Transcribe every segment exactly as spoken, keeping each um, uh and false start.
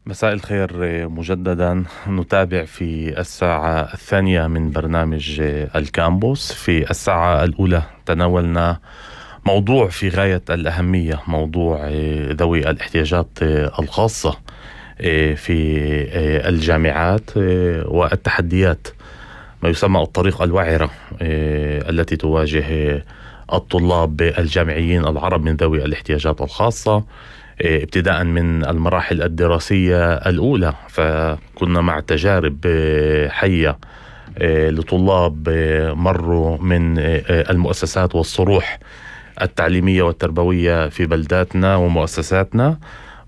مساء الخير مجددا. نتابع في الساعة الثانية من برنامج الكامبوس. في الساعة الأولى تناولنا موضوع في غاية الأهمية، موضوع ذوي الاحتياجات الخاصة في الجامعات والتحديات، ما يسمى الطريق الوعرة التي تواجه الطلاب الجامعيين العرب من ذوي الاحتياجات الخاصة، ابتداء من المراحل الدراسية الأولى. فكنا مع تجارب حية لطلاب مروا من المؤسسات والصروح التعليمية والتربوية في بلداتنا ومؤسساتنا،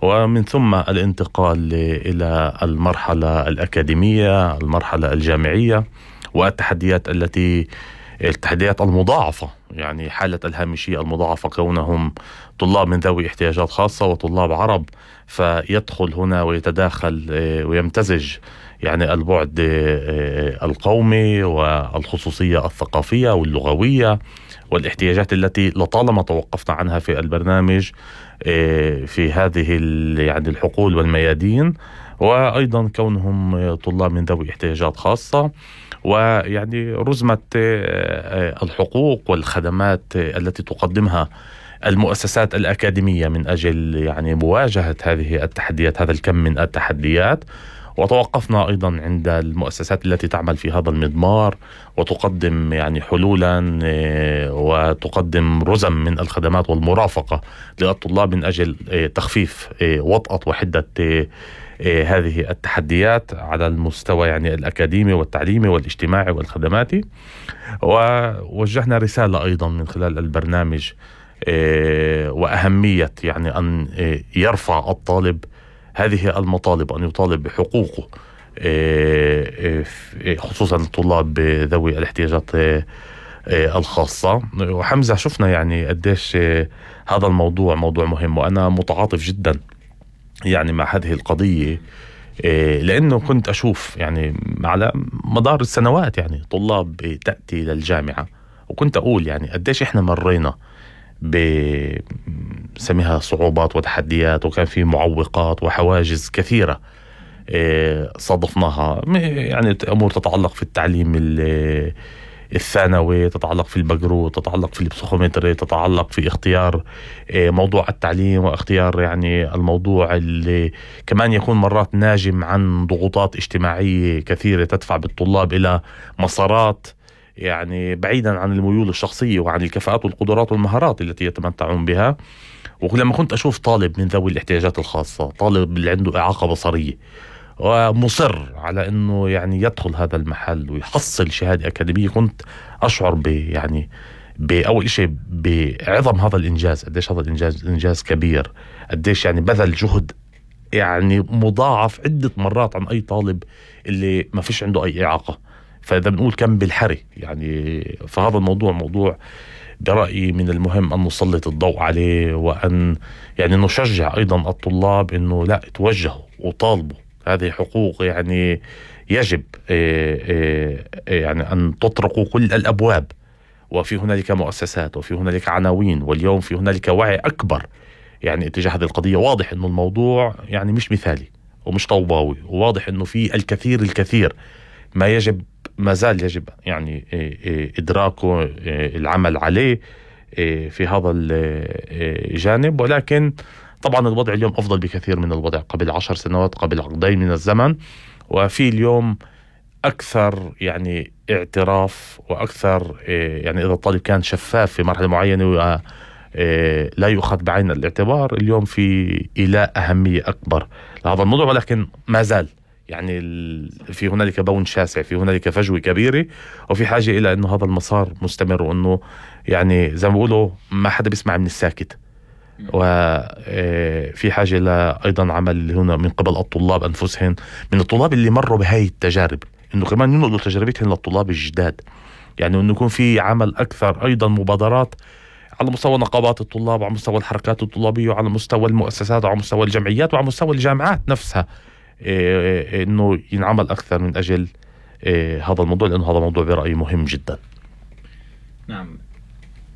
ومن ثم الانتقال إلى المرحلة الأكاديمية، المرحلة الجامعية، والتحديات التي التحديات المضاعفة، يعني حالة الهامشية المضاعفة، كونهم طلاب من ذوي احتياجات خاصة وطلاب عرب، فيدخل هنا ويتداخل ويمتزج يعني البعد القومي والخصوصية الثقافية واللغوية والاحتياجات التي لطالما توقفنا عنها في البرنامج في هذه يعني الحقول والميادين، وأيضا كونهم طلاب من ذوي احتياجات خاصة، ويعني رزمة الحقوق والخدمات التي تقدمها المؤسسات الأكاديمية من أجل يعني مواجهة هذه التحديات، هذا الكم من التحديات. وتوقفنا أيضا عند المؤسسات التي تعمل في هذا المضمار وتقدم يعني حلولا وتقدم رزم من الخدمات والمرافقة للطلاب من أجل تخفيف وطأة وحدة هذه التحديات على المستوى يعني الأكاديمي والتعليمي والاجتماعي والخدماتي. ووجهنا رسالة أيضا من خلال البرنامج وأهمية يعني أن يرفع الطالب هذه المطالب، أن يطالب بحقوقه، خصوصا الطلاب ذوي الاحتياجات الخاصة. وحمزة، شفنا يعني قديش هذا الموضوع موضوع مهم، وأنا متعاطف جدا يعني مع هذه القضية، لأنه كنت أشوف يعني على مدار السنوات يعني طلاب تأتي للجامعة، وكنت أقول يعني قديش إحنا مرينا بسميها صعوبات وتحديات، وكان في معوقات وحواجز كثيرة صادفناها، يعني أمور تتعلق في التعليم الثانوي، تتعلق في البقرو، تتعلق في البسيكومتري، تتعلق في اختيار موضوع التعليم، واختيار يعني الموضوع اللي كمان يكون مرات ناجم عن ضغوطات اجتماعية كثيرة تدفع بالطلاب إلى مسارات يعني بعيدا عن الميول الشخصية وعن الكفاءات والقدرات والمهارات التي يتمتعون بها. ولما كنت أشوف طالب من ذوي الاحتياجات الخاصة، طالب اللي عنده إعاقة بصرية، ومصر على أنه يعني يدخل هذا المحل ويحصل شهادة أكاديمية، كنت أشعر ب يعني بأول شيء بعظم هذا الإنجاز، قديش هذا الإنجاز إنجاز كبير، قديش يعني بذل جهد يعني مضاعف عدة مرات عن أي طالب اللي ما فيش عنده أي إعاقة. فإذا بنقول كم بالحري يعني، فهذا الموضوع موضوع برأيي من المهم أن نسلط الضوء عليه، وأن يعني نشجع أيضا الطلاب أنه لا توجهوا وطالبوا، هذه حقوق يعني يجب يعني أن تطرقوا كل الأبواب. وفي هنالك مؤسسات وفي هنالك عناوين، واليوم في هنالك وعي أكبر يعني اتجاه هذه القضية. واضح أنه الموضوع يعني مش مثالي ومش طوباوي، وواضح أنه في الكثير الكثير ما يجب ما زال يجب يعني إدراكه، العمل عليه في هذا الجانب. ولكن طبعا الوضع اليوم أفضل بكثير من الوضع قبل عشر سنوات، قبل عقدين من الزمن. وفي اليوم أكثر يعني اعتراف، وأكثر يعني إذا الطالب كان شفاف في مرحلة معينة لا يؤخذ بعين الاعتبار، اليوم في إيلاء أهمية أكبر لهذا الموضوع. ولكن ما زال يعني في هنالك بون شاسع، في هنالك فجوة كبيرة، وفي حاجة إلى أنه هذا المسار مستمر، وأنه يعني زي ما بيقولوا ما حدا بيسمع من الساكت. وفي حاجة إلى أيضا عمل هنا من قبل الطلاب أنفسهم، من الطلاب اللي مروا بهاي التجارب، أنه كمان ينقلوا تجربتهم للطلاب الجداد، يعني أنه يكون في عمل أكثر، أيضا مبادرات على مستوى نقابات الطلاب، وعلى مستوى الحركات الطلابية، وعلى مستوى المؤسسات، وعلى مستوى الجمعيات، وعلى مستوى الجامعات نفسها، إيه إنه ينعمل أكثر من أجل إيه هذا الموضوع، لأنه هذا موضوع برأيي مهم جدا. نعم.